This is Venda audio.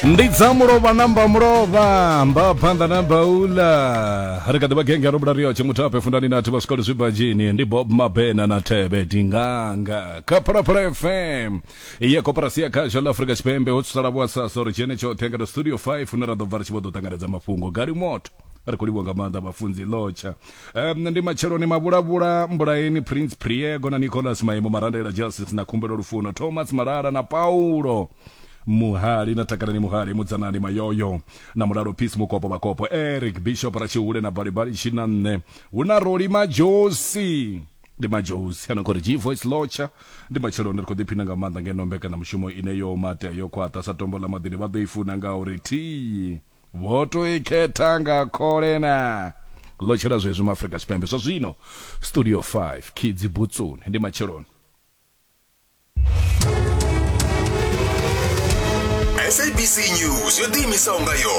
Ndi dza mulovha na mba mulovha mba phanḓa na baula ri kha ḓi vha genge ro bula riotshe muthape fundani na thivha zwikolo zwi ndi Bob Mabena na Thebe Dinganga kha Phalaphala FM ya koporasi ya khasho ḽa Afrika Tshipembe ho tsala vho sasa uri dzhene tshoṱhe nga studio 5 hune ra ḓo bva ri tshi vho ḓo ṱanganedza mafhungo gali moto ri khou livhuwa nga maanḓa vhafunzi lotsha um, ndi matsheloni mavhulavhula mbulaeni Prince Priego na Nicholas Maimo Marandela Justice na Khumbelo Lufuno Thomas Malala na Paulo Muhali na Takalani Muhali Mudzanani Mayoyo na Mulalo Peace Mukopo Vhakopo Eric Bishop Ratshihule na Balibali Tshina nṋe hu na Roli Majosi ndi Majosi ano khou ri G Voice Lotsha ndi matsheloni ri khou ḓiphina nga maanḓa ngeno mbekanyamushumo ine yo matea yo khwaṱha sa tombo ḽa maḓini vha ḓo i funa ngauri thi vho to i khetha nga khole na lotshela zwezwi maafrika tshipembe zwa zwino studio 5 kids butsuni ndi matsheloni. SABC News yo ḓiimisaho nga yoṱhe.